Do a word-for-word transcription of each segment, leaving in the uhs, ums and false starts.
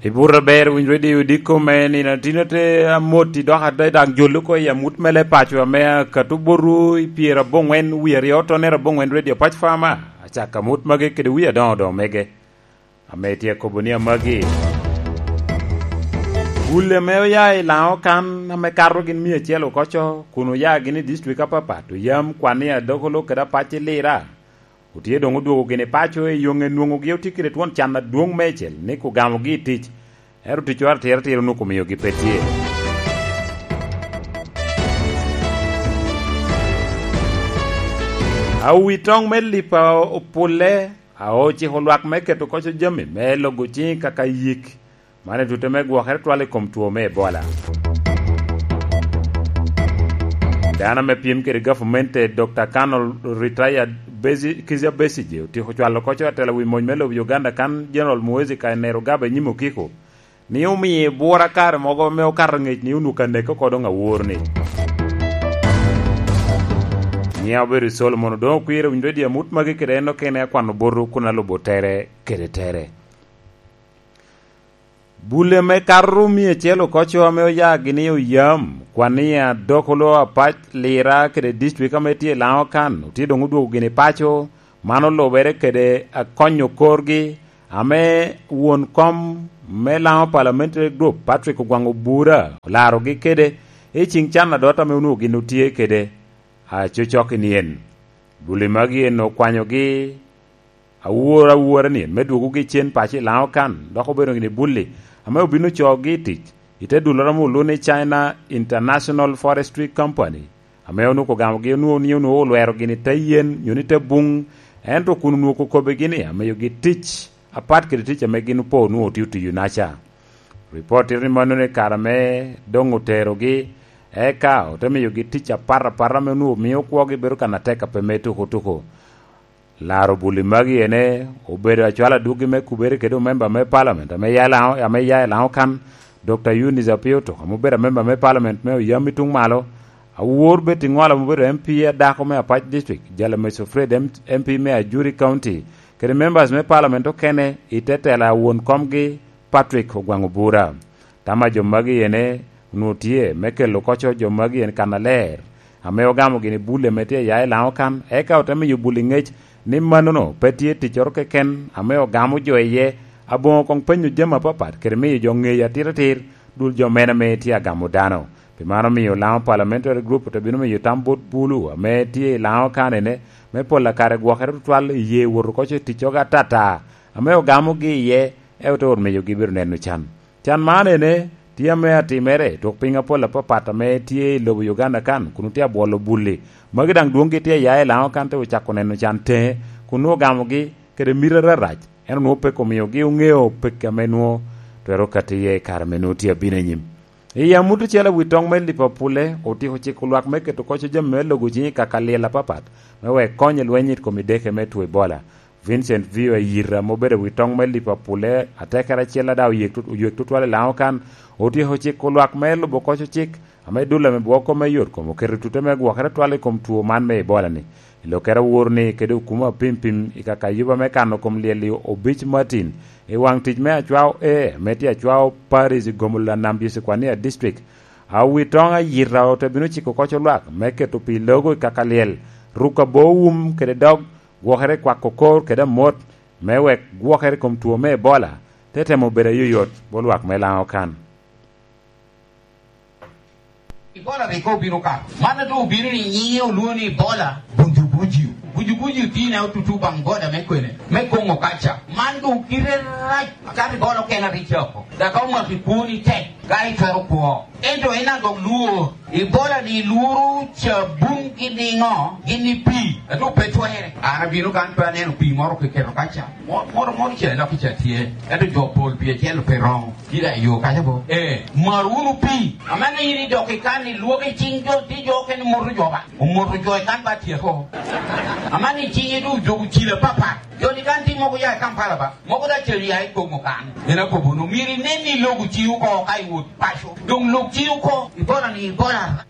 I buto aber, winy Radio Diko me nino tino te amoti dok ate daŋ jolo oko i amut mele paco ame akato boru i pyero aboŋwen wie aryo tonere aboŋwen Radio Pac Farmer. Acako amut magi kede wie adoŋo doŋ mege ame tye akobo ni amagi. Bulle ame oya i Laŋo kan ame kato gin mia acel okoco kun oya gin i distrik apapat, oyam kwan i Adokolo kede Apac i Lira. Otye doŋ odwogo gin i paco i yoŋe nwoŋogi otye kede twon can adwoŋ meicel ni ogamogi i tic, ento ticoro atira tira onwoŋo omiogi pe tye. Awi toŋ me lipa opulle, a ociko lwak me keto koco jami me logo ciŋ kaka yik, man i tute me gwokere twal i kom two me Ebola. Dano ame pyem kede gavumenti, Doctor Colonel Retired Besi-, Kizza Besigye, otyeko cwalo koco atela wi mony me lobo Uganda kan General Muhoozi Kainerugaba i nyim okiko, ni omio bwura kare mogo ame okato ngec ni onwoŋo ka neke oko doŋ awor ni. Nyiŋa obedo Solomon Odoŋo Kwir, owinyo redio amut magi kede en okene akwano boto kun alubo tere kede tere. Bulle me kato mia acel okoco ame oya gini oyam, kwan i Adokolo, Apac, Lira kede distrik ame tye i Laŋo kan, otye doŋ odwogo gini paco, man olubere kede akonyo korgi, ame won kom me Laŋo Parliamentary Group, Patrick Ogwaŋ Obura, olarogi kede i ciŋ can adot ame onwoŋo gin otye kede acocok i nien. Bulle magi en okwanyogi awor awora ni me dwogogi cen paco i Laŋo kan, dok obedo gini bulli ame obino cogi i tic i te dulloro ame olwoŋo ni China International Forestry Company, ame onwoŋo ogamogi onwoŋo ni onwoŋo olwero gini te yen nyo ni te buŋ, ento kun onwoŋo okobbigi ni amiyogi tic apat kede tic ame gin opo onwoŋo otio tiyo naca. Ripot tito ni mano ni kare ame doŋ oterogi, eka ote miyogi tic apat apat ame onwoŋo mio kwogi bedo kan atek a pe me tuko tuko. Laro buli magi ene obedo acwalo adwogi me kubere kede omemba me palament ame ya i Laŋo, ame ya i Laŋo kan, Doctor Eunice Apio Tuk, ame obedo amemba me palament me oyam i tuŋ malo, awor Betty Ŋwala ame obedo M P adako me Apac District, Jalameso Fred M-, M P me Ajuri County, kede members me palament okene i te tela a won komgi Patrick Ogwaŋ Obura. Tam a jo magi ene onwoŋo tye me kelo koco jo magi en kannaler, ame ogamo gini bul ame tye ya i Laŋo kan, eka ote miyo bul i ŋec ni mannono pe tye ticcoro keken ame ogamo jo iye, aboŋo koŋ penyo jami apapat kede miyo jo ŋeyo atiratir dul jo mene ame tye agamo dano. Pi man omio Laŋo Parliamentary Group ote bino miyo tam bot bulu ame tye i Laŋo kan ene me pol akare gwokere tutwal i ye woto koco i ticcogo atata ame ogamogi iye, ento ote ot miyogi bedo neno can. Can man ene tye ame atimere i twok piny apol apapat ame tye i lobo Uganda kan, kun otye abwolo bul-li. Magi daŋ dwoŋgi tye ya i Laŋo kan te ocako neno can teŋe, kun nwoŋo ogamogi kede miti ararac, ento nwoŋo peke omiogi oŋeo peke ame nwoŋo twero kati iye i kare ame nwoŋo tye abino i nyim. I amut ocele wi toŋ me Liverpool-le, otyeko ciko lwak me keto koco jami me logo ciŋ i kaka lyel apapat, me wek kony i lweny i kom ideke me two Ebola. Vincent Vio Ayita, ame obedo wi toŋ me Liverpool, atekere acel ada oyek tut-, oyek tutwal i Laŋo kan, otyeko ciko lwak me lubo koco cik, ame dul ame bwoko me yot kom oketo tute me gwokere twal i kom two man me Ebola-ni. I lokkere awor-ni kede okuma apimpim i kakayuba me kano kom lyel-li obic Martin, i waŋ tic me Acwao A, ame tye Acwao Parish i Gomula Nambi Secwania District, awi toŋ Ayita ote bino ciko koco lwak me keto pi logo i kaka lyel, ruko abo wum kede dog, gwokere i kwako kor kede amot, me wek gwokere i kom two me Ebola te temo bedo ayoyot bot lwak me Laŋo kan. Ebola rik obino ka. Man doŋ obino ni nyiŋe olwoŋo ni Ebola, bujubuju. Bujubuju tye ne otutu baŋ boda me kwene, me Kongo kaca. Man doŋ kite rac, akato Ebola okene rik cako. Dok ka omaki kwoni tek, ka itwero kwo. Ento en adok lwor, Ebola ni lworo cabun gin niŋo? Gin ni pii, ento pe twerre. An abino kan pe aneno pii moro kiketo kaca. Mo-, moro moro ca i loki ca tye, ento jo pol pii acel pe roŋo. Kit a yo kaca bo. Eh, mar wunu pii. Amanni in idok i kan ilwok i cing jo, ti jo okene moto jo ba. Omoto jo i kan ba tyeko. Amanni cinge doŋ ojogo cilo apapat. Jo ni kan ti mogo ya i Kampala ba. Mogo da cel ya i Kongo kan. En akobo no, myero inen ni ilogo ciŋ oko ka iwot paco. Doŋ lok ciŋ oko, ibola ni ibola.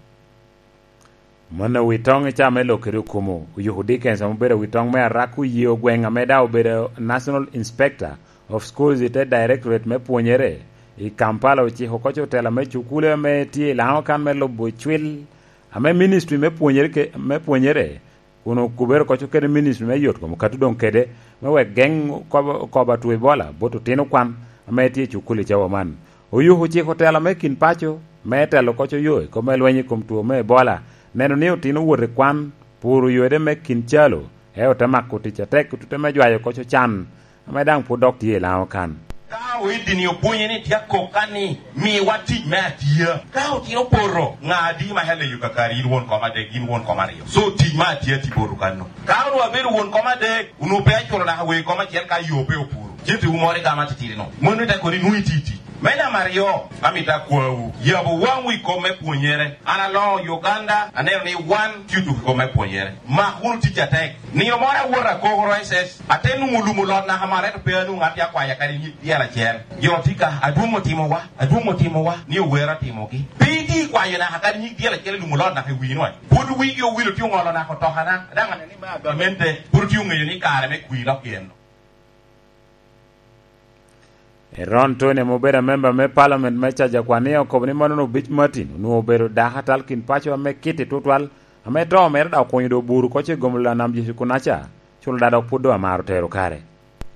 Mano wi toŋ i caa me lok kede okumo, Oyuku Dickens ame obedo wi toŋ me Arak oye ogweŋ ame daŋ obedo National Inspector, of Schools i te Directorate me pwonyere i Kampala ociko oko otela me cukule ame tye i Lango kan me lubo cwil ame ministry me pwonyere ke-, me pwonyere kun okubere oko kede ministry me yot kom okatu doŋ kede me wek geŋ kobo, kobo atwo Ebola bot otino kwan ame tye i cukule i cawa man. Oyuku ociko otela me kin paco me telo oko yo i kom me lweny i kom two me Ebola, neno ni otino wot i kwan, puro yode me kin calo, eo te mako tic atek i tute me jwayo oko can ame daŋ pwod dok tye i Lango kan. Ka oidini obonye ni tye akok kan ni, "Miwa tic me atia." Ka otino poto, ŋa adi ma heleyo kakari, in won kom adek, in won kom aryo? So tic me atia ti poto kanno. Ka onwo abedo won kom adek, onwo pe aculo naka wer kom acel ka yo pe opuro. Cente wu moro igamo atitidi no. Mano te kono inwo iti tic. Me namba aryo, amito akwawu, yabo waŋwu i kom me pwonyere. An aloŋo Uganda, aneno ni wan tye otuko i kom me pwonyere. Mak wunu tic atek. Nino moro awot akokoro S S, ate nwoŋo lumo lot naka malo, ento pe anwoŋo ŋat te akwaya kadi nyig dyel acel. Jo tye ka, "Adwoŋ otimowa, adwoŋ otimowa," ni owero atimogi. Pe iti kwayo naka kadi nyig dyel acel i lumo lot naka i wii nwac. Pwod wigi owilo tye oŋolo naka otokana, daŋ aneno ni me agamente pwod tye oŋeyo ni kare me kwir lok yen. Eron Tony ame obedo amemba me Parliament me Cajakwania okobo ni mano Obic Martin onwoŋo obedo dako atal kin paco ame kitti tutwal, ame to mere dok okunyo do buru oko ce gomolo Lanam Jecu kunaca, culo da dok pwod doŋ amaro tero kare.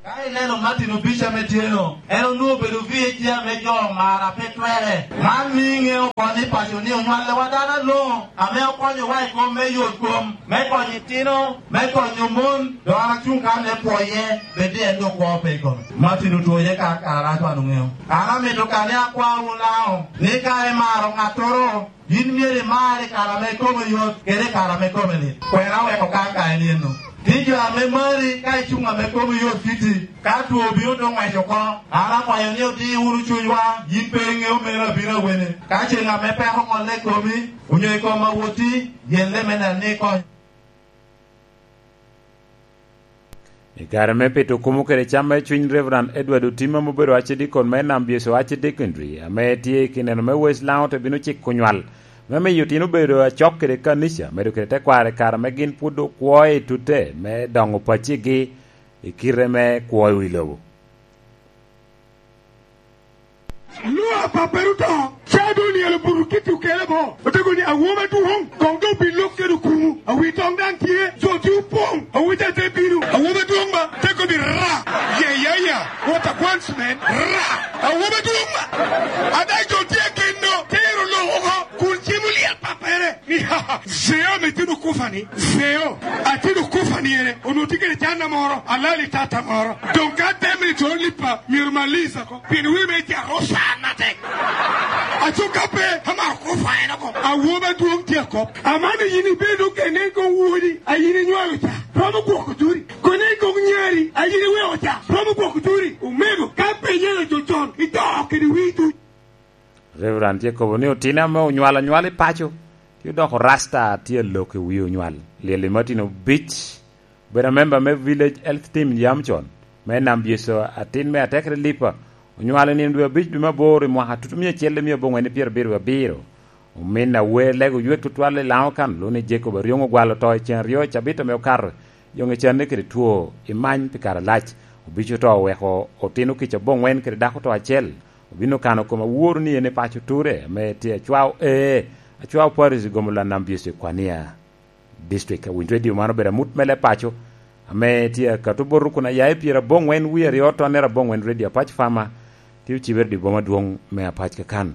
Ka ineno Martin Obic ame tye-no, en onwoŋo obedo V A G ame jo omaro ape twere. Man miyo iŋeo oko ni paco ni onywallewa dano aloŋo ame okonyowa i kom me yot kom, me konyo itino, me konyo mon, dok an acuŋ kan me pwoye, bed ni en doŋ kwo pe i kome. Martin otwoye ka kara arac wan oŋeo. An amito kane akwa wun Lango, ni ka imaro ŋattoro, yin myero imar i kare ame kome yot, kede i kare ame kome lit. Kwena weko ka ka en eno. Ni jo ame mari ka icuŋ ame kome yot kiti, ka two obino doŋ ŋwec oko, an akwayo ni odi wunu cunywa, yin pe iŋeo meno abino awene. Ka ceŋ ame peko ŋolle i komi, onyo i kom awotti, yelle me neno ni ikonyo. I kare me pito kumo kede cam me cwiny, Reverend Edward Otima ame obedo Archdeacon me Nam Byeso Archdeaconry, ame tye i kineno me West Lango, te bino ciko nywal me miyo otino bedo acok kede kanica, medo kede tekwaro i kare ame gin pwod okwo i tute me doŋo paccigi i kite me kwo i wi lobo. Lwak pappere oto, ca doŋ onielo buto kiti okele bo. Otego ni, "Awobi adwoŋ, koŋ doŋ bi lok kede okumu. Awi toŋ daŋ tye, jo tye opoŋ. Awobi ca te bino. Awobi adwoŋ ba, te kobbi ra. Yeah, yeah, yeah. What a once man. Ra. Awobi adwoŋ ba. Ada jo tye ageno, te ero lok oko, kun cim oliel pappere." Ni, "Zeo ame tino kufa ni, Zeo, atino kufa ni ene, onwoŋo tye kede canna moro, alali tata moro. Doŋ ka temme ni to lipa, myero maliza ko, pien wi me ja rosa matek." Aco ka pe, amaro kufa en oko. Awobi adwoŋ tye akop. Amano yin ibedo kene koŋ wodi, a yin inywalo ca, romo gwoko turi. Kone koŋ nyari, a yin iweko ca, romo gwoko turi. Omego, ka pe nyalo jo con, ito kede wi duc. Reverend tye kobo ni otino ame onywalo anywal i paco, tye odoko rasta tye alok i wi onywal. Lyel i Martin Obic, obedo amemba me Village Health Team yam con, me Nam Byeso, atin me Atekere Lipa, onywalo i nino dwe abic dwe me aboro i mwaka tutumia acel i mia aboŋwen i pyerabiro abiro. Omin awer lego ywek tutwal i Lango kan, luni Jacob Aryoŋ ogwalo to i cen aryo i cabit ame okato, yoŋe canne kede two i many pi kare alac. Obic oto oweko otino kica aboŋwen kede dako to acel. Obino kano kom awor ni en i paco ture ame tye acwao ee, acwao Paris i gomo Lanam Byeso i Kwania District. Awinj Radio man obedo amut me leb paco ame tye akato bot rukun ayaye pyerabongwen wie aryo tonnere abongwen Radio Apac Fama tye ocibere di boma dwong me Apac kakan.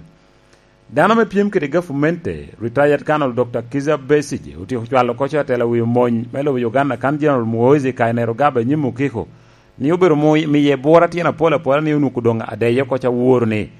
Dano me pyem kede gavumenti, retired Colonel Doctor Kizza Besigye, otyeko cwalo koco atela wi omony me lobo Uganda kan General Muhoozi Kainerugaba i nyim okiko, ni obedo mu-, miye bwora tyen apol apola ni onwuku doŋ adeye koco aworo ni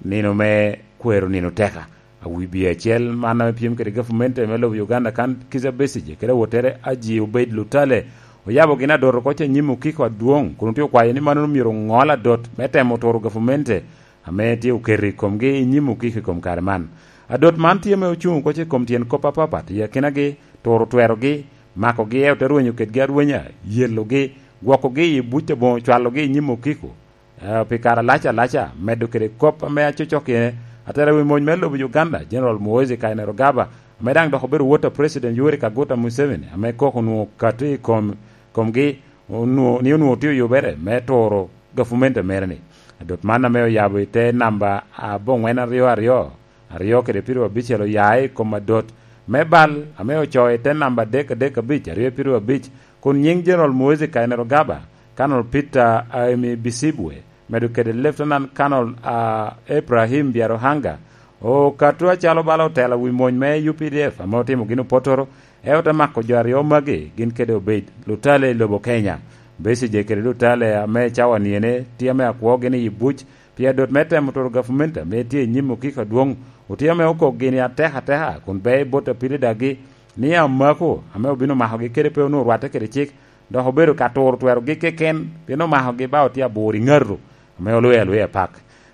nino me kwero nino teka. Awi bie acel man ame pyem kede gavumenti me lobo Uganda kan Kizza Besigye kede awottere Aji Obeid Lutale oyabo gin adot oko ca nyim okiko adwoŋ, kun otye okwayo ni mano myero oŋol adot me temo turo gavumenti ame tye oketo i komgi i nyim okiko i kom kare man. Adot man tye ame ocuŋ oko ca i kom tyen kop apapat i akinagi, turo twerogi, makogi, eo te rwenyo kedgi arwenya, yelogi, gwokogi i buc aboŋo, cwalogi i nyim okiko, eh, pi kare alac alaca, medo kede kop ame acocok iye, atela wi mony me lobo Uganda, General Muhoozi Kainerugaba, ame daŋ dok obedo wot a President Yoweri Kaguta Museveni, ame koko onwoŋo okato i kom, komgi, onwoŋo, ni onwoŋo tye oyubere me turo gavumenti mere-ni. Adot man ame oyabo i te namba aboŋwen aryo aryo, aryo kede piru abicel oya i kom adot me bal ame ocoo i te namba adek adek abic, aryo piru abic, kun nyiŋ General Muhoozi Kainerugaba, Colonel Peter Aimibisibwe, medo kede Lieutenant Colonel, ah, Ibrahim Byaruhanga, okato acalo bala otelo wi mony me U P D F ame otimo gin opotoro, eo te mako jo aryo magi gin kede obed Lutale i lobo Kenya. Besigye kede Lutale ame cawa niene tye ame akwogi ni i buc pi adot me temo turo gavumenti ame tye i nyim okiko adwoŋ, otye ame okok gini ateka ateka kun be i bot apili dagi ni amako ame obino makogi kede pe onwoŋo rwatte kede cik, dok obedo ka turo twerogi keken, pien omakogi ba otye abur i ŋato ame olwoyo alwoya pak.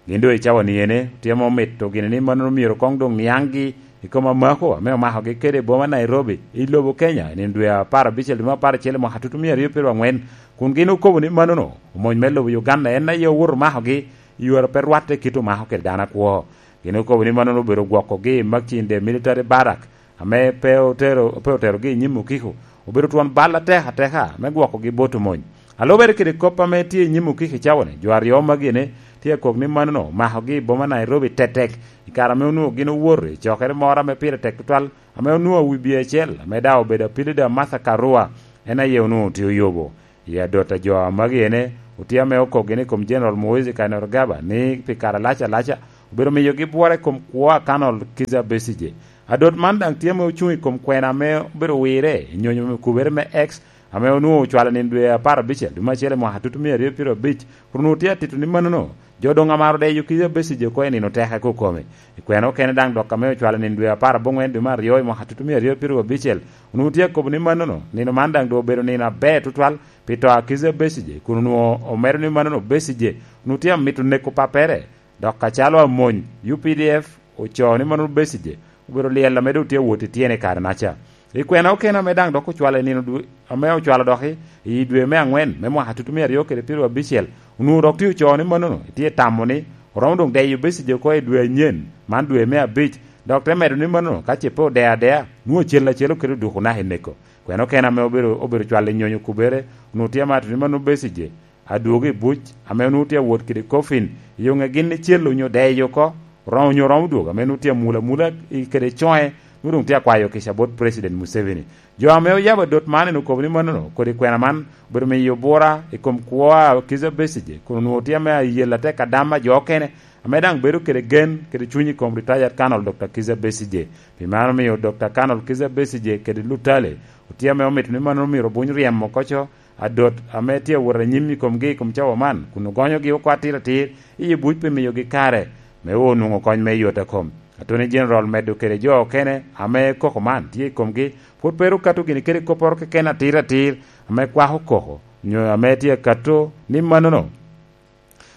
Gin doŋ i cawa niene, tye ame omito gini ni mannono myero koŋ doŋ niaŋgi i kom amako ame omakogi kede i boma Nairobi, i lobo Kenya, i nino dwe apar abicel, dwe me apar acel, i mwaka tutumia aryo pyeraryo aŋwen, kun gin okobo ni mannono omony me lobo Uganda en aye owoto omakogi i yore a pe rwatte kit omako kede dano akwo. Gin okobo ni mannono obedo gwokogi i Makindye Military Barrack, ame pe otero, pe oterogi i nyim okiko, obedo twon bal atek ateka me gwokogi bot omony. A lubere kede kop ame tye i nyim okiko i cawa-ni, jo aryo magi-ni tye akok ni mannono omakogi i boma Nairobi tetek, i kare ame onwoŋo gin owoto i cokere moro ame pire tek tutwal, ame onwoŋo wibye acel, ame daŋ obedo apilida Martha Karua, en aye onwoŋo tye oyobo. I adot a jo magi ene, otye ame okok gin i kom General Muhoozi Kainerugaba ni pi kare alac alaca obedo miyogi bwora i kom kwo a Colonel Kizza Besigye. Adot man daŋ tye ame ocuŋ i kom kwena ame obedo wirre i nyonyo me kubere me X, ame onwoŋo ocwalo nino dwe apar abicel, dwe me acel i mwaka tutumia aryo pyeraryo abic, kun onwoŋo tye atito ni mannono, jo doŋ amaro deyo Kizza Besigye oko i nino teke kokome. I kwena okene daŋ dok ame ocwalo nino dwe apar aboŋwen, dwe me aryo i mwaka tutumia aryo pyeraryo abicel, onwoŋo tye akobo ni mannono, nino man daŋ doŋ obedo nino aber tutwal pi to a Kizza Besigye, kun onwoŋo omedo ni mannono Besigye onwoŋo tye amito neko pappere, dok acalo amony U P D F ocoo ni mannono Besigye obedo lyel ame doŋ tye awot i tyene i kare-naca. I kwena okene ame daŋ dok ocwalo i nino dwe, ame ocwalo dok i, i dwe me aŋwen me mwaka tutumia aryo kede pyeraryo abicel, onwoŋo dok tye ocoo ni mannono tye tamo ni oromo doŋ deyo Besigye oko i dwe anyen, man dwe me abic, dok te medo ni mannono ka ce pe odeyo adea, nwoŋo acel acel oketo duko naka i neko. Kwena okene ame obedo, obedo cwalo i nyonyo kubere, onwoŋo tye amato ni mannono Besigye adwogo i buc, ame onwoŋo tye awot kede coffin, i yoŋe gin icel onyo deyo oko, oromo, onyo oromo dwogo, ame onwoŋo tye amul amula i kede coŋe, nwoŋo doŋ tye akwayo kica bot President Museveni. Jo ame oyabo adot man en okobo ni mannono, kodi kwena man obedo miyo bura i kom kwo a Kizza Besigye, kun onwoŋo tye ame ayel atek adam a jo okene, ame daŋ bedo kede gen kede cuny i kom Retired Colonel Doctor Kizza Besigye. Pi mano omio Doctor Colonel Kizza Besigye kede Lutale otye ame omito ni mannono myero obuny ryemo oko co, adot ame tye awot anyim i komgi i kom cawa man, kun ogonyogi oko atir atir i buc pi miyogi kare me onwoŋo kony me yot a kom. Attorney General omedo kede jo okene ame koko man tye i komgi, pwod pe ru kato gini kede kopporo keken atir atir ame kwako koko, nyo ame tye akato ni mannono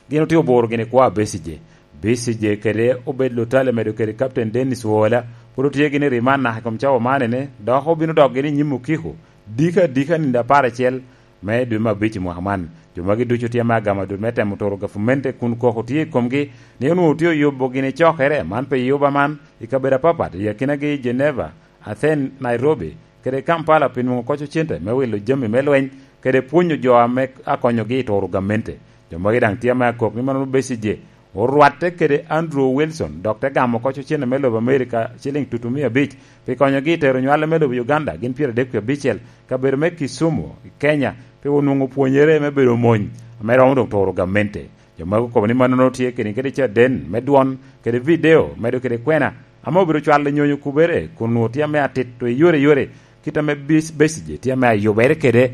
gin otye oburo gini kwo a Besigye. Besigye kede obed Lutale medo kede Captain Dennis Oola, pwod otye gini i riman naka i kom cawa man ene, dok obino dok gini i nyim okiko, dika adika nino apar acel me dwe me abic i mwaka man. Jo magi ducu tye ame agamo dul me temo turo gavumenti kun koko tye i komgi, ni onwoŋo tye oyubo gini cokere man pi yuba man i kabedo apapat, i akinagi Geneva, Athens, Nairobi, kede Kampala pi nwoŋo koco cente me wilo jami me lweny, kede pwonyo jo ame akonyogi i turo gamente. Jo magi daŋ tye ame akok ni mannono Besigye orwatte kede Andrew Wilson, dok te gamo koco cente me lobo Amerika, ciliŋ tutumia abic, pi konyogi i tero nywale me lobo Uganda, gin pyeradek wie abicel, kabedo me Kisumu, i Kenya, pi onwoŋo pwonyere me bedo mony, ame romo doŋ turo gamente. Jo magi okobo ni mannono tye kede, kede caden me dwon, kede video, medo kede kwena, ame obedo cwalo nyonyo kubere, kun onwoŋo tye ame atito i yore yore, kit ame Bes-, Besigye tye ame ayubere kede,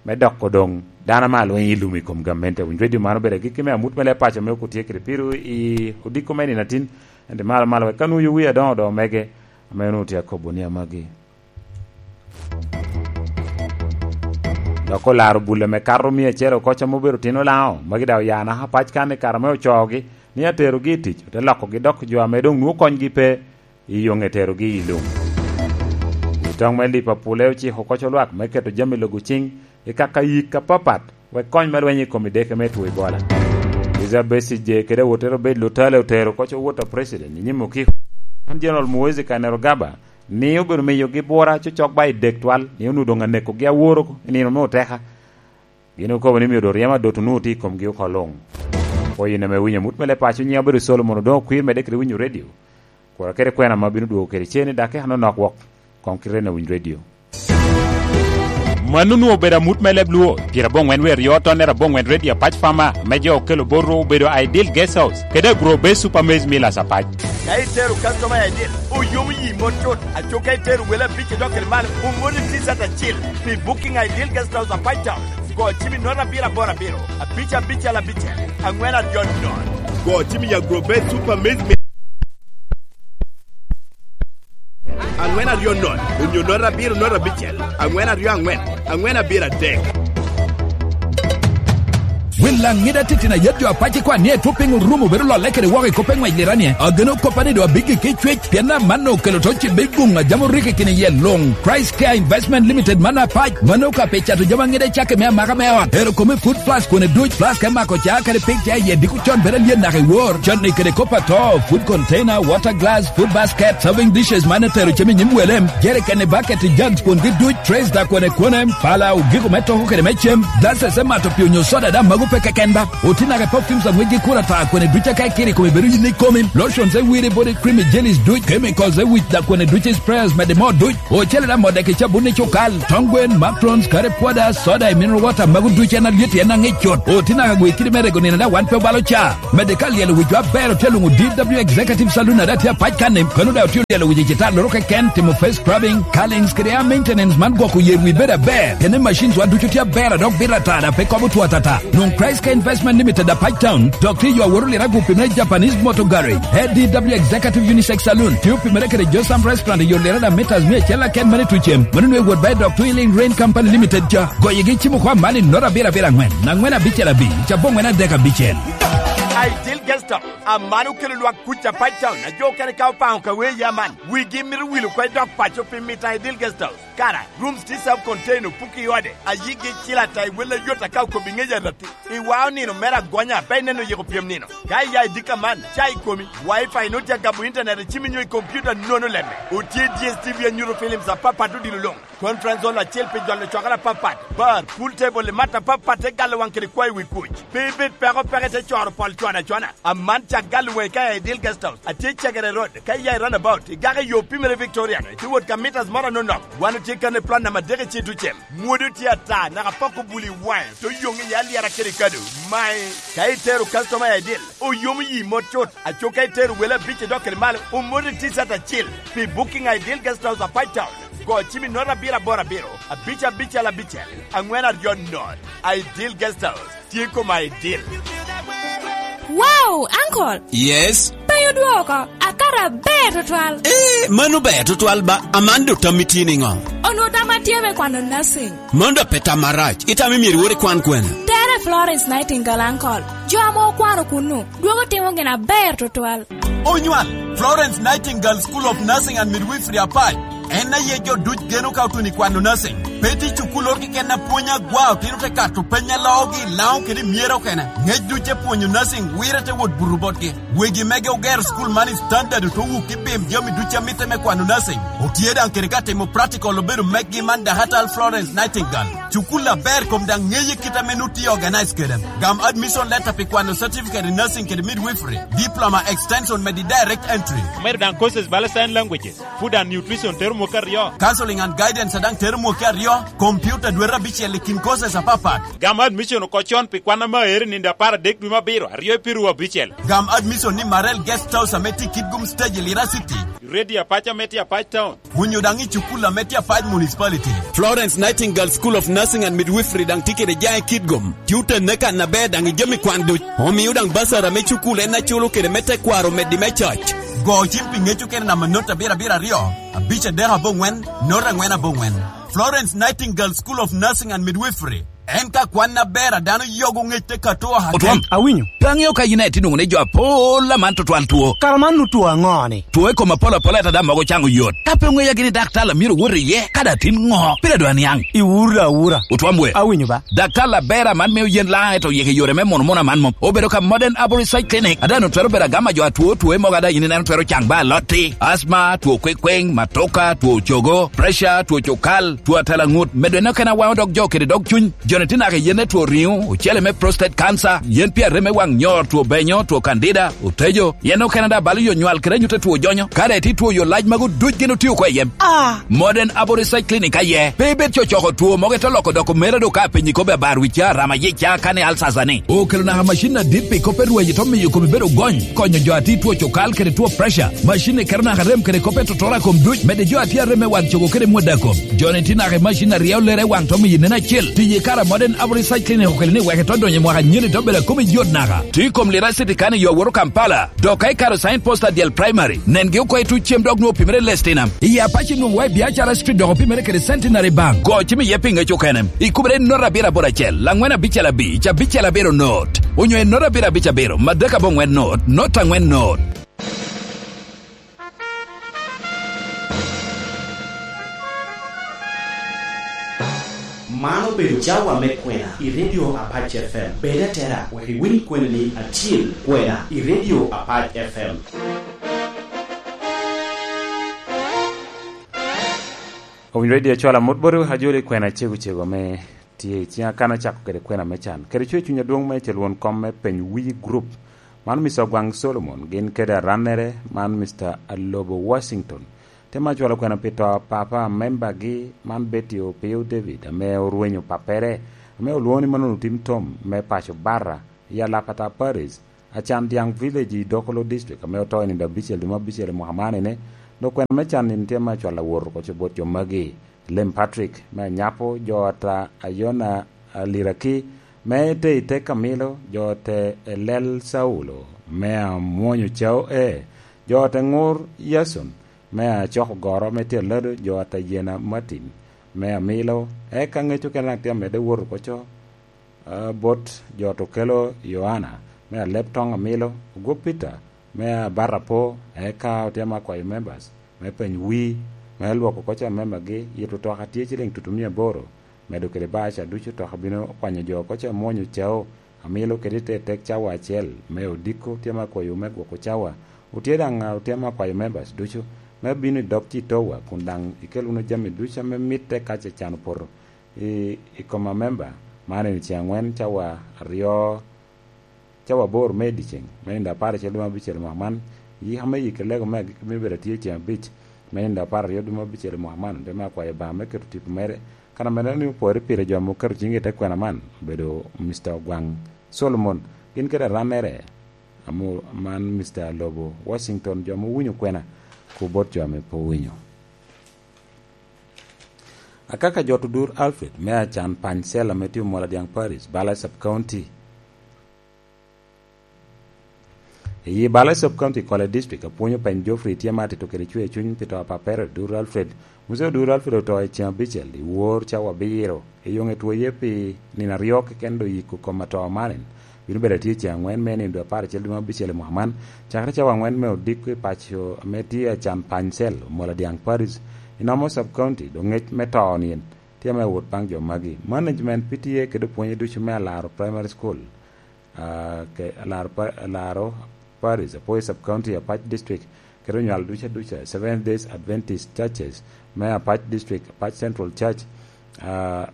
me doko doŋ dano ame alweny i lum i kom gamente. Winy redio man obedo agikki me amut me leb paco me okutye kede piru i odiko me nino atin, ento malo malo wek ka nwoyo wi adoŋo doŋo mege, ame onwoŋo tye akobo ni amagi. Dok olaro bul ame kato mia acel oko, ca ma obedo tino Lango, magi daŋ oya naka pac kan i kare ame ocoogi ni aterogi i tic, ote lokogi dok jo ame doŋ nwoŋo konygi pe i yoŋe terogi i lum. Wi toŋ me Liverpool ociko koc olwak me keto jami logo ciŋ i kaka yik apapat, wek kony me lweny i kom ideke me two Ebola. Kizza Besigye kede awotere Obed Lutale otero koc owot a president i nyim okiko. Man General Muhoozi Kainerugaba ni obedo miyogi bwora cocok ba i dek twal, ni onwoŋo doŋ anekogi aworo i nino me oteka. Gin okobo ni myero ryemo adot onwoŋo tye i komgi oko luŋ. Pwoo yin ame iwinyo amut me leb paco, nyiŋa obedo Solomon Odongo Kwir, medde kede winyo redio. Kura kede kwena ame abino dwogo kede cen i dakika anonok wok, koŋ kite en awiny redio. Mano onwoŋo obedo amut me leb Luo, pyerabongwen wie aryo tonnere abongwen redio Apac Farmer, ame jo okelo botwu obedo Ideal Guest House, kede Agro Base Super Maize Millers Apac. Ka itero customer i Ideal, oyomo yi mot cut. Aco ka itero wele abic idok kede malo, oŋolli T-shirt acil. Pi booking Ideal Guest House Apac Town, go cim i note abiro aboro abiro, abic abicel abicel, aŋwen aryo nono. Go cim i Agro Base Super Maize Millers aŋwen aryo nono, onyo note abiro note abicel, aŋwen aryo aŋwen, aŋwen abiro adek. Wil Laŋida titino ayet jo Apac ikwan ni etwo piny orumo bedo lolle kede woko i kop eŋwec liranie. Ageno koppa ni doŋ abiggi ki cwec, pien amanno okelo to cibe i guŋ a jami orikki kine iye luŋ. Christ Care Investment Limited man Apac, mano ka pi cato jami aŋida i cakki me amaka me ot. Ero kome food flask kone duc, flask me mako ca kede pig ca iye diko con bedo alyet naka i wor. Canni kede kop ato, food container, water glass, food basket, serving dishes man etero cem i nyim wele, jerikeni, baketi, jugs kwongi duc, trays da kwene kwene, pala, ogiko me toko kede me cem, glasses me mato pii onyo soda da mago pe keken ba. Oti naka perfumes aŋwec gi kura ta kwene duc aka ikiri kome bedo yin ikomi, lotions e wiri body cream i jellies duc, chemicals e wic da kwene duc i sprayers mede mo duc, ocele da modde ki cabun i cukal, tong gwen, macarons, curry powder, soda i mineral water mago duc en alyet en aŋic cut. Oti naka gwe kidi me rego nino da wan pe obalo ca. Mede ka lyelo wicwa aber otye luŋo D W Executive Saloon a daŋ tye apac kanni, kano daŋ otye lyelo wic i citar loro keken, timo face scrubbing, curlings kede hair maintenance man gwoko yer wi bedo aber. Kene machines wa ducu tye aber a dok bito ata daŋ pe kobo two atata. Nwoŋ Christ Care Investment Limited apac town, dok tye yo awoto liro agupi me Japanese Motor Garage. A D W Executive Unisex Saloon tye opimere kede Josam Restaurant i yo liro daŋ meters mia acel aken mani tucem. Mano nwe wot ba i dok Twilling Rain Company Limited ca. Goyigi cimo kwa mani noto abiro abiro aŋwen, aŋwen abicel abic, cabo ŋwen adek abicel. Ideal Guest House, aman okelo lwak kuc Apac Town, a jo okene ka opaŋo ka wee ya man, wigi mito wilo oko i dok paco pi mito Ideal Guest House. Kara, rooms tye self contained, opuki i ode, a yigi cil ata i wel ayot aka okobo i ŋec aratti. I wao nino mere agonya, pe ineno yiko pyem nino. Ka iya i dika man, ca i komi, Wi-Fi nwoŋo tye agamo internet i cimi nyo i computer nono lemme. Otye D S T V anyuto films apapat odilo luŋ. Conference hall acel pi jolo cokere apapat, bar, pool table, i mat apapat te galo waŋ kede kwayo wi kuc. Pe ibed peko peke te coro pol cwana cwana. Aman cak galo waŋi ka i Ideal Guest House, atye i Cegere Road, ka iya i roundabout, igako i yo pimere Victoria, itye wot ka meters moro anonok. Wan otye kan i plot namba adek i Citucem. Mwodo tye ata, naka poko buli i waŋe, to yoŋ iye alyera kede kado. Mae, ka itero customer i Ideal, oyomo yi mot cut. Aco ka itero wele abic idok kede malo, omoti T-shirt acil. Pi booking Ideal Guest House Apac Town, go cim i note abiro aboro abiro, abic abicel abicel, aŋwen aryo note. Ideal Guest House, tye kom Ideal. Wow, uncle! Yes? Pe odwoko, akato aber tutwal. Eh, mano ber tutwal ba, aman do tammi tye niŋo? Onwoŋo tamma tye me kwano nursing. Mano dok pe tam marac. Itamo myero iwot ikwan kwene? Tere Florence Nightingale, uncle. Jo ame okwano kunnu, dwogo timo gin aber tutwal. Onywal, Florence Nightingale School of Nursing and Midwifery Apac. En aye jo duc geno ka otuno i kwano nursing. Pe tye cukul oro keken a pwony agwa otino te kato peny a loogi i Laŋo kede i Myero okene. Ŋec duc te pwonyo nursing wire te wot buto botgi. Wegi mege ogero cukul man i standard oto wuk i pim jami duc a mitte me kwano nursing. Otye daŋ kede ka timo practical obedo mekgi man Dakatal Florence Nightingale. Cukul aber kom daŋ ŋeye kit ame nut tye organize kede. Gam admission letter pi kwano certificate in nursing kede midwifery, diploma extension medi direct entry. Omedo daŋ courses bala sign languages, food and nutrition tero mwaka aryo. Counseling and guidance daŋ tero mwaka aryo, computer dwete abicel i kin courses apapat. Gam admission oko con pi kwan ame aero i nino apar adek dwe me abiro, aryo i piru abicel. Gam admission ni Marel Guest House ame tye i Kitgum Stage i Lira City. Radio Apac ame tye Apac Town. Onyo daŋ i cukul ame tye Apac Municipality. Florence Nightingale School of Nursing and Midwifery daŋ tye kede jaŋ i Kitgum. Tye otenne kan aber daŋ i jami kwan duc. Omio daŋ basara me cukul en aculo kede me tekwaro medi me coc. Go cim pi ŋec okene namba not abiro abiro aryo, abic adek aboŋwen, not angwen aboŋwen. Florence Nightingale School of Nursing and Midwifery. En ka kwan aber a dano yogo ŋec te kato aka Otwom, ken. Awinyo. Pe aŋeo ka yin aye tye nwoŋo ni jo apol aman tutwal two. Kara man nu two aŋo-ni? Two i kom apol apol ata daŋ mogo caŋo yot. Ka pe oŋeya gini daktar a myero wot iye, ka daŋ tin ŋo? Pire dwa niaŋ. Iwura awura. Otwom we. Awinyo ba. Daktar aber aman mio yen laŋ eto yeke yore me mono mono aman mom. Obedo ka Modern Arborist Clinic. A daŋ twero bedo agama jo atwo two mogo a daŋ yin ineno twero caŋ ba alotti. Asma, two kwekweŋ, matoka, two cogo, pressure, two cukal, two atalaŋut. Medo eno kena waŋo dog jo kede dog cuny. Jo Ene tye naka i yen me two riŋo, ocele me prostate cancer, yen pien rem me waŋ nyor, two benyo, two candida, otejo, yen okene daŋ balo yo nywal kede anyut a two jonyo. Ka daŋ itye two yo lac magu duc gin otio oko i yem. Ah! Modern Abo Research Clinic aye. Pe ibed cocoko two mogo ite loko dok omera do ka apenyi kobbi abar wicca, rama yica, kani alsasa ni. Okelo naka macin adit pi kop e rweny ito miyo komi bedo gony, konyo jo a tye two cokal kede two pressure. Macin ni keto naka rem kede kop e totoro a kom duc, medde jo a tye arem me waŋ cogo kede mwodda kom. Joni tye naka i macin aryo lere waŋ to miyo nen acel. Tiyo i kare a Modern Abo Research Clinic okelo ni wek ito donyo i mwaka nyeni to bedo a komi yot naka. Tye i kom Lira City kan i yo awoto Kampala. Dok ka ikaro sign post adyel primary, nengi oko i tuc cem dok nwoŋo opimere i Lestinam. I Apac i nwoŋo wa i Biacara Street dok opimere kede Centenary Bank. Go cim iye pi ŋec okene. Ikubere i not abiro aboro acel, laŋwen abicel abic, abicel abiro not. Onyo i not abiro abic abiro, madek aboŋwen not, not aŋwen not. Man obedo cawa me kwena i Radio Apac F M. Bed atera, wek iwiny kwena ni acil kwena i Radio Apac F M. Owiny Radio cwalo amut botwu, ajoli kwena cego cego ame tye i ciŋa kan acako kede kwena me can. Kede cwer cuny adwoŋ me cel won kom me peny wi grup. Man Mister Ogwaŋ Solomon, gin kede arannere, man Mister Alobo Washington. Te ma cwalo kwena pi to papa membagi, man Betty Opio David, ame orwenyo pappere, ame olwoŋo ni Manunu Tim Tom, me paco Barra, i Alapata Parish, Acan Diaŋ Village i Dokolo District, ame oto i nino abicel dwe me abicel i mwaka man ene, dok kwena me can in tye ma cwalo awot oko bot jo magi, Lem Patrick, me Anyapo, jo ata Ayona Aliraki, me te i te Kamilo, jo te Elel Saulo, me Amwonyo Cao E, jo te Ŋur Yason, me Acoko Goro, me tye Alado, jo ata Yena Martin, me Amilo, eka ŋec okene daŋ tye amedde wot oko co, ah, bot jo ata Okelo Yohana, me Aleb Toŋ Amilo, Ogwok Peter, me Abarapo, eka otye ma akwayo members, me peny wi, me lwoko oko ca membagi, yito toka tye ciliŋ tutumia aboro, medo kede bar ca ducu toka bino kwanyo jo oko ca Mwonyo Cao, Amilo kede te tek cawa acel, me odiko tye ma akwayo me gwoko cawa, otye daŋ, ah, otye ma akwayo members ducu, me bino i dog Citowa, kun daŋ ikel wunu jami ducu ame mitte ka ce can opoto. I, i kom amemba, man en ceŋ aŋwen cawa aryo, cawa aboro me i dyeceŋ, me nino apar acel dwe me abicel mwaka man, yika me yik lego me agikki bino bedo atye ceŋ abic, me nino apar aryo dwe me abicel mwaka man, te me akwayo Obaŋa me keto tipo mere, kan amedde ni opore pire jo ame oketo ciŋgi i te kwena man, obedo Mister Ogwaŋ Solomon, gin kede arannere, amo-, man Mister Alobo Washington, jo ame owinyo kwena, ku bot jo ame pe owinyo. Akaka Jot Odur Alfred, me Acan Pany Cell ame tye Omola Dyaŋ Parish, Bala Sub County. I Bala Sub County, Kole District, apwonyo Pany Geoffrey tye ma atito kede cwer cuny pi to a papere Odur Alfred. Muzee Odur Alfred oto i ceŋ abicel i wor cawa abiro. Eyoŋe two iye pi nino aryo keken, dok yiko kom atoo man en bino bedo atye ceŋ aŋwen me nino dwe apar acel dwe me abicel i mwaka man, cakere cawa aŋwen me odiko i paco ame tye Acan Pany Cell, Omola Dyaŋ Parish, i Namu Sub County, dok ŋec me to-ni en tye ame wot baŋ jo magi. Management P T A kede opwonye ducu me Alaro Primary School, ah, ke Alaro Pa-, Alaro Parish, Apoi Sub County, Apac District, kede onywal ducu aduca, Seventh Days Adventist Churches me Apac District, Apac Central Church, ah,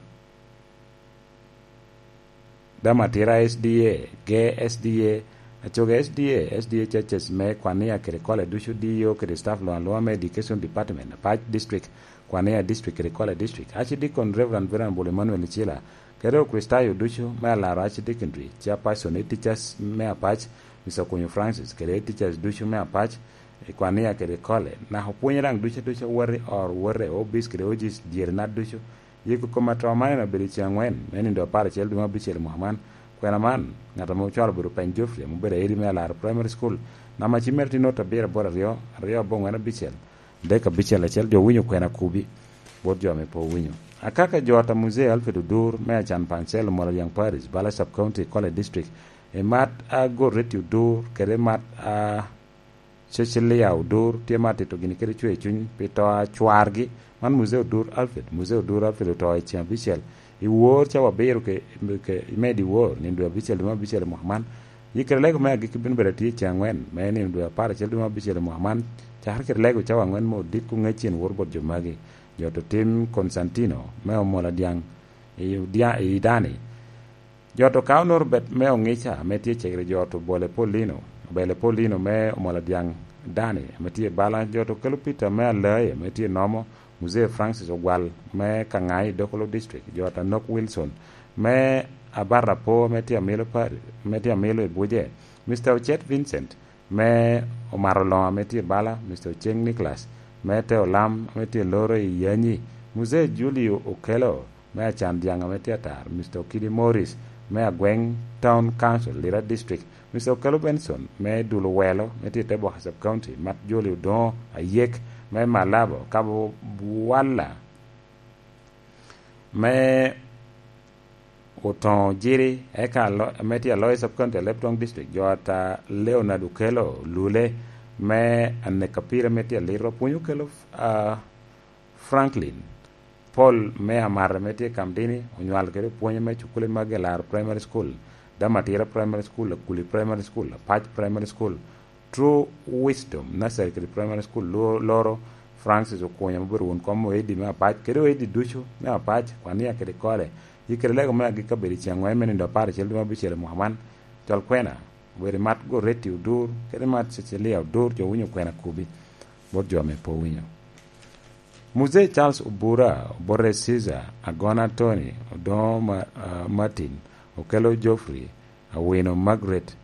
Damatira S D A, Ge S D A, Acoge S D A, S D A Churches me Kwania kede Kole ducu, D E O kede staff luŋ aluŋa me Education Department, Apac District, Kwania District kede Kole District, Archdeacon Reverend Venerable Emmanuel Icila, kede Okricitayo ducu me Alaro Archdeaconry, Chairperson, Head Teachers me Apac, Mister Okunyu Francis, kede Head Teachers ducu me Apac, i Kwania kede Kole, naka opwonye daŋ ducu aduca, wot i or, wot i obic kede ojic dyere nat ducu. Yiko kom atoo man en obedo i ceŋ aŋwen, me nino apar acel dwe me abicel i mwaka man. Kwena man, ŋat ame ocwalo obedo Pany Geoffrey, ame obedo airi me Alaro Primary School, namba cim mere tye not abiro aboro aryo, aryo aboŋwen abicel, adek abicel acel. Jo owinyo kwena kubi, bot jo ame pe owinyo. Akaka Jot a Muzee Alfred Odur, me Acan Pany Cell, Omola Dyaŋ Parish, Bala Sub County, Kole District, i mat a Goreti Odur, kede mat a Cecilia Odur tye ma atito gini kede cwer cuny pi to a cwargi, man Muzee Odur Alfred. Muzee Odur Alfred oto i ceŋ abicel i wor cawa abiro ke, ke, i medi wor, nino dwe abicel, dwe me abicel i mwaka man. Yikere lego me agikki bino bedo atye i ceŋ aŋwen, me nino dwe apar acel, dwe me abicel i mwaka man, cakere kede lego cawa aŋwen me odiko ŋec cen wor bot jo magi. Jot otim Constantino me Omola Dyaŋ i Udia-, i Dani. Jot okawo Norbert me Ongica ame tye cegere jot Obole Paulino, Obele Paulino me Omolo Dyaŋ Dani ame tye i bala. Jot okelo Peter me Alai ame tye i Nomo, Muzee Francis Ogwal me Kaŋai i Dokolo District, jot Anok Wilson me Abarapo ame tye amilo Pari, ame tye amilo i Buje, Mister Ocet Vincent me Omato Loŋo ame tye i bala, Mister Oceng Nicholas me Te Olam ame tye loro i Yanyi, Muzee Julio Okello me Acan Dyaŋ ame tye atar, Mister Okidi Morris me Agweng Town Council, Lira District, Mister Okello Benson me Dul Owelo ame tye i Teboka Sub County, Mat Joli Odoŋo Ayek me Malabo, Kabo Bwala me Otoŋo Jiri, eka alo-, ame tye aloyo Sub County, Alebtong District, jot a Leonard Okello Lule me Aneka Pire ame tye Aliro, Pwony Okello, ah, Franklin Paul me Amara ame tye Kamdini, onywal kede pwony me cukule magi, Alaro Primary School, Damatira Primary School, Akuli Primary School, Apac Primary School, True Wisdom Nursery kede Primary School, lo-, loro Francis Okunya ma obedo won kom Oedi me Apac, kede Oedi ducu me Apac, Kwania kede Kole. Yi kede lego me agikki abedo i ceŋ ŋwen me nino apar acel dwe me abicel i mwaka man, col kwena, obedo i mat Goreti Odur, kede mat Cecilia Odur, jo winyo kwena kubi, bot jo ame pe owinyo. Muzee Charles Obura, Obote Caesar, Agona Tony, Odoŋo Ma-, ah, Martin, Okello Geoffrey, Awino Margaret,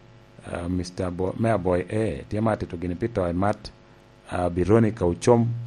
ah, Mister Bo-, me Aboy A, tye ma atito gini pi to i mat, ah, Bironica Ocom,